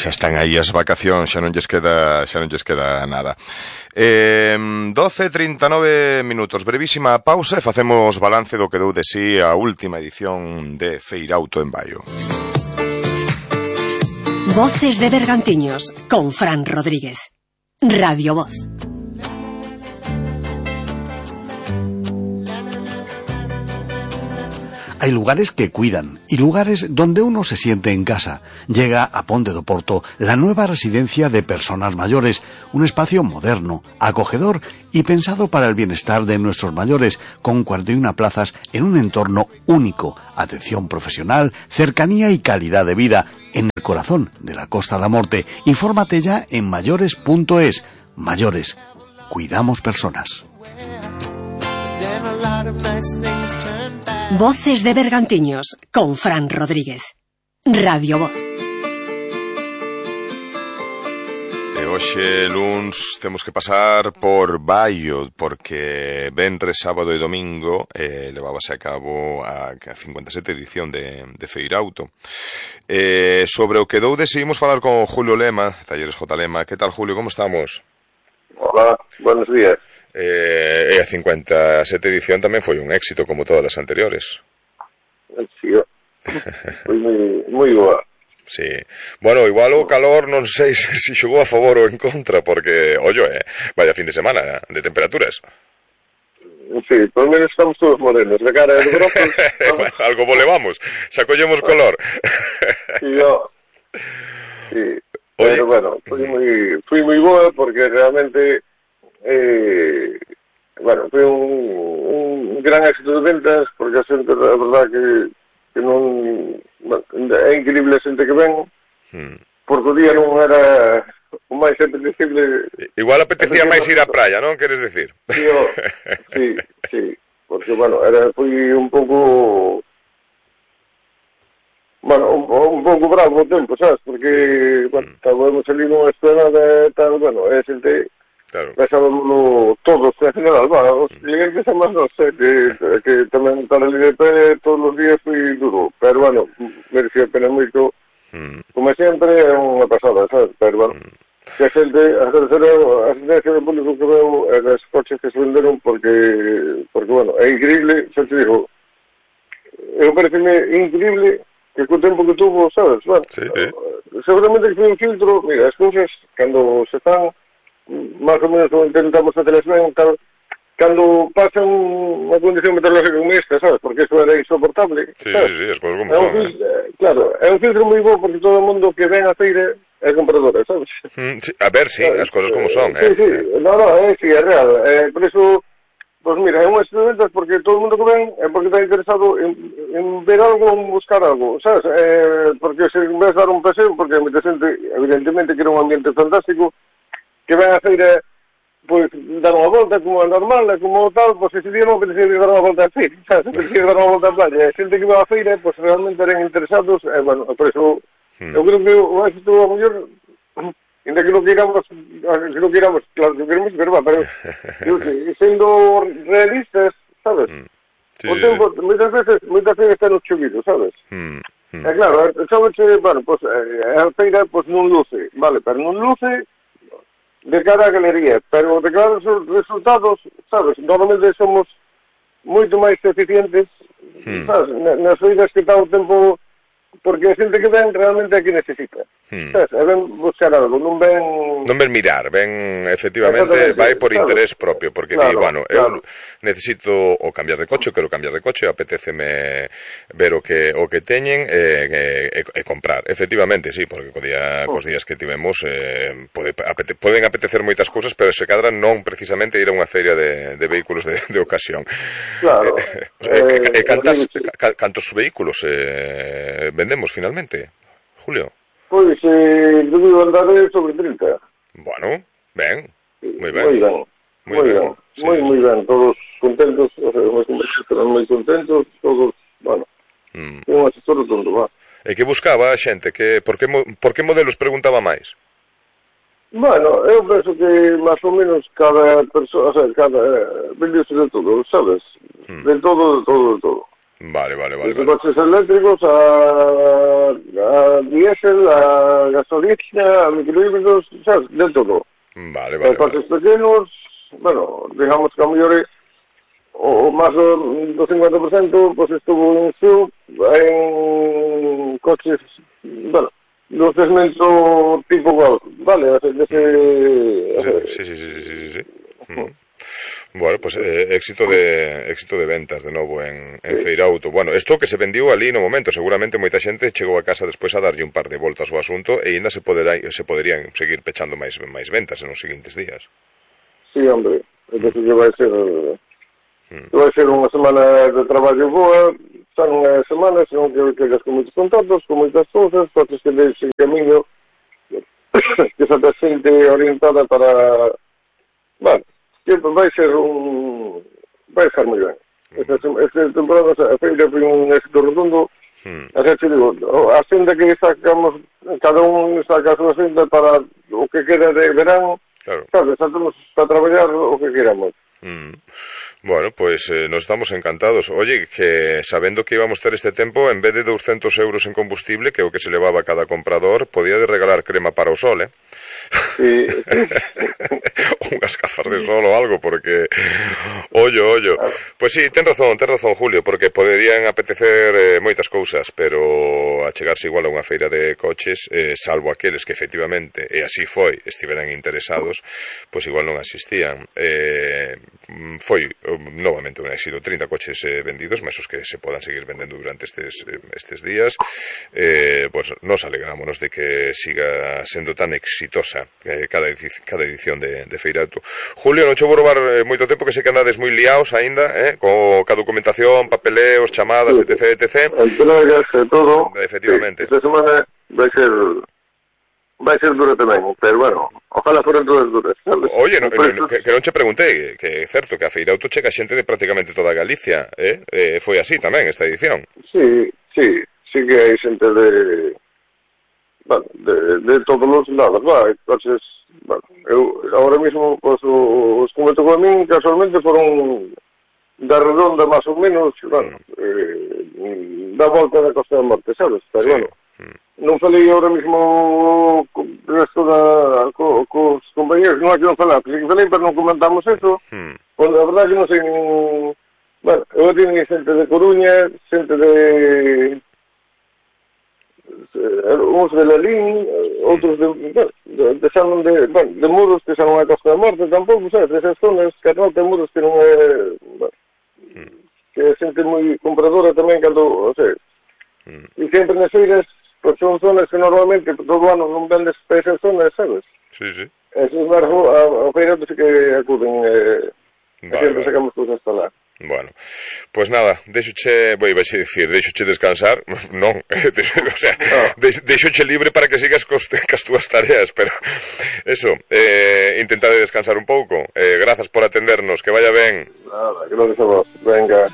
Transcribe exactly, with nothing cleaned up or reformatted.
xa están aí as vacacións, xa non lles queda, xa non lles queda nada. Eh, doce e trinta e nove minutos, brevísima pausa e facemos balance do que deu de si a última edición de Feirauto en Baio. Voces de Bergantiños con Fran Rodríguez. Radio Voz. Hay lugares que cuidan y lugares donde uno se siente en casa. Llega a Ponte do Porto la nueva residencia de personas mayores, un espacio moderno, acogedor y pensado para el bienestar de nuestros mayores, con cuarenta y una plazas en un entorno único, atención profesional, cercanía y calidad de vida en el corazón de la Costa da Morte. Infórmate ya en mayores punto es. Mayores, cuidamos personas. Voces de Bergantiños con Fran Rodríguez. Radio Voz. E hoxe, luns, temos que pasar por Baio, porque venres, sábado e domingo eh, levábase a cabo a cincuenta e sete edición de, de Feirauto. Eh, sobre o que dou decidimos falar con Julio Lema, Talleres J. Lema. Que tal, Julio, como estamos? Hola, buenos días. Eh, e a cincuenta e sete edición tamén foi un éxito como todas as anteriores. Sí, foi moi, moi boa. Sí. Bueno, igual o calor non sei se si xogou a favor ou en contra, porque, ollo, eh, vaya fin de semana de temperaturas. Sí, por menos estamos todos morenos, de cara de brazos. Bueno, algo volevamos, xa collemos color. Sí, yo. Sí. Oye. Pero bueno, foi moi, foi moi boa porque realmente Eh, bueno, foi un, un gran éxito de ventas porque a xente, a verdad que, que non, bueno, é increíble a xente que ven, hmm. porque o día non era o máis apetecible. Igual apetecía máis ir á praia, non? Queres decir? Sí, o, sí, sí, porque, bueno, era, foi un pouco, bueno, un, un pouco bravo o tempo, sabes? Porque, bueno, estábamos ali nunha esplanada e tal, bueno, é xente. Claro. Pensábamos todos, en general, bueno, os clientes a máis non sei, que, que tamén estar ali de pé todos os días foi duro, pero bueno, merecía a pena moito, mm. como sempre é unha pasada, sabes, pero bueno, mm. que a xente, a asistencia do público que veo é das coches que se venderon porque, porque bueno, é increíble, xa te digo, eu pareceme increíble que co tempo que tuvo, sabes, bueno, sí, eh. seguramente que foi un filtro, mira, as cousas, cando se están máis ou menos intentamos facelas ben, tal, cando pasan unha condición meteorológica como esta, sabes, porque eso era insoportable, sí, sabes? Sí, sí, as cousas como é son, un, eh. Claro, é un filtro moi bo porque todo o mundo que ven a feira é compradora, sabes? Mm, sí, a ver, sí, claro, as cousas como son, eh? Sí, sí, eh. no, no, é, sí, é real, eh, por eso, pues mira, é un estudiante porque todo o mundo que ven é porque está interesado en, en ver algo, en buscar algo, sabes? Eh, porque se ves dar un paseo, porque moita xente, evidentemente, que era un ambiente fantástico, que ven a feira, pois, dar unha volta como é normal, como tal, pois ese día non apetecía dar unha volta a feira, sabes? Apetecía dar unha volta a playa. A xente que va a feira, pois realmente eran interesados, e, bueno, por eso, hmm. eu creo que o éxito a mellor, ainda que non queiramos, que non queiramos, claro que queremos, pero, pero, eu sei, sendo realistas, sabes? Hmm. Sí, o tempo, sí. moitas veces, moitas veces está no chovido, sabes? Hmm. Hmm. E claro, sabes, bueno, pois, a feira, pois, non luce, vale, pero non luce de cara a galería, pero de cara aos resultados, sabes, normalmente somos moito máis eficientes, hmm. sabes, nas feiras que está o tempo, porque a xente que ven realmente é que necesita, hmm. sabes, é ven buscar algo, non ven... Non ven mirar, ven, efectivamente, vai por claro. interés propio, porque claro, di, bueno, claro. eu necesito o cambiar de coche, quero cambiar de coche, apetéceme ver o que o que teñen e, e, e comprar, efectivamente, sí, porque co día, cos días que tivemos eh, pode, apete, poden apetecer moitas cousas, pero se cadran non precisamente ir a unha feria de, de vehículos de, de ocasión. Claro. Eh, eh, eh, cantas, eh, cantos vehículos eh, vendemos finalmente, Julio? Pois, eh, debido andar sobre trinta. Bueno, ben, moi ben. Moi ben, moi ben, sí, moi, sí. moi ben, todos contentos, o sea, os conversos están moi contentos, todos, bueno, mm. un asesor todo, va. E que buscaba a xente? Que, por, que, por que modelos preguntaba máis? Bueno, eu penso que máis ou menos cada persoa, o sea, cada, vendiose de todo, sabes? Mm. De todo, de todo, de todo. Vale, vale, vale. Desde vale. coches eléctricos a, a diésel, a gasolina, a microhíbridos, sabes, de todo. Vale, vale. Eh, coches vale. pequenos, bueno, digamos que a mellor o máis do, do cincuenta por cento, pois estuvo en sub, en coches, bueno, do segmento tipo Golf, vale, dese... Sí, sí, sí, sí, sí, sí, sí. Mm. Bueno, pues eh, éxito de éxito de ventas de novo en, en sí. Feirauto. Bueno, isto que se vendiu ali no momento, seguramente moita xente chegou a casa despois a darlle un par de voltas ao asunto e ainda se poderá, se poderían seguir pechando máis máis ventas en os seguintes días. Sí, hombre, entonces mm. vai ser mm. vai ser unha semana de traballo boa, xa non é semana, senón que quedas con moitos contactos, con moitas cousas, coches que deis en camiño que xa te xente orientada para... Bueno, que vai ser un... vai ser moi ben. Esta, esta temporada a feira foi un éxito redondo. Hmm. Así que digo, a senda que sacamos, cada un saca a súa senda para o que queda de verán, claro. Sabes, estamos para traballar o que queramos. Mm. Bueno, pues eh, nos estamos encantados. Oye, que sabendo que íbamos ter este tempo, en vez de doscientos euros en combustible, que é o que se levaba cada comprador, podía de regalar crema para o sol, eh? Sí. Unhas gafas de sol ou algo, porque ollo, ollo. Claro. Pues sí, ten razón, ten razón, Julio, porque poderían apetecer eh, moitas cousas, pero achegarse igual a unha feira de coches, eh, salvo aqueles que efectivamente, e así foi, estiveran interesados, pues igual non asistían. Eh, foi novamente un éxito, trinta coches eh, vendidos, mesos que se podan seguir vendendo durante estes, eh, estes días. Eh, pues nos alegrámonos de que siga sendo tan exitosa eh, cada, edic cada edición de, de Feirauto. Julio, non che vou robar eh, moito tempo, que sei que andades moi liaos aínda, eh, co, ca documentación, papeleos, chamadas, sí, etc, etcétera. Entregas e todo. Efectivamente. Sí, esta semana vai ser vai ser dura tamén, pero bueno, ojalá foran todas duras, sabes? Oye, no, no, que, que non che preguntei, que é certo que a Feirauto chega xente de prácticamente toda Galicia, eh? eh foi así tamén esta edición. Sí, sí, sí que hai xente de, bueno, de, de todos os lados, va, entonces, bueno, eu agora mismo, pues, os que me tocou a min, casualmente foron da redonda, máis ou menos, bueno, mm. eh, da volta da Costa da Morte, sabes? Pero, sí. Bueno, non falei ahora mismo co resto da co, cos compañeros, non hai que non falar, porque falei, pero non comentamos eso. Hmm. Pois a verdade que non sei nin... Bueno, eu teño xente de Coruña, xente de... uns de Lalín, outros de... de, de, San, de, bueno, de Muros, que xa non é Costa da Morte, tampouco, sabes, esas zonas, que non ten Muros, que non é... Bueno, hmm. que é xente moi compradora tamén, cando, o sea, hmm. e sempre nas feiras, pues son zonas que normalmente todo ano non vendes para esas zonas, sabes? Sí, sí. Esos marcos, a, a feira sí que acuden, eh, vale, sempre vale. Sacamos cousas para lá. Bueno, pues nada, deixoche, voy a dicir, deixoche descansar, non, o sea, no. deixoche libre para que sigas cos, cas túas tareas, pero eso, eh, intentade descansar un pouco, eh, grazas por atendernos, que vaya ben. Nada, gracias a vos, venga.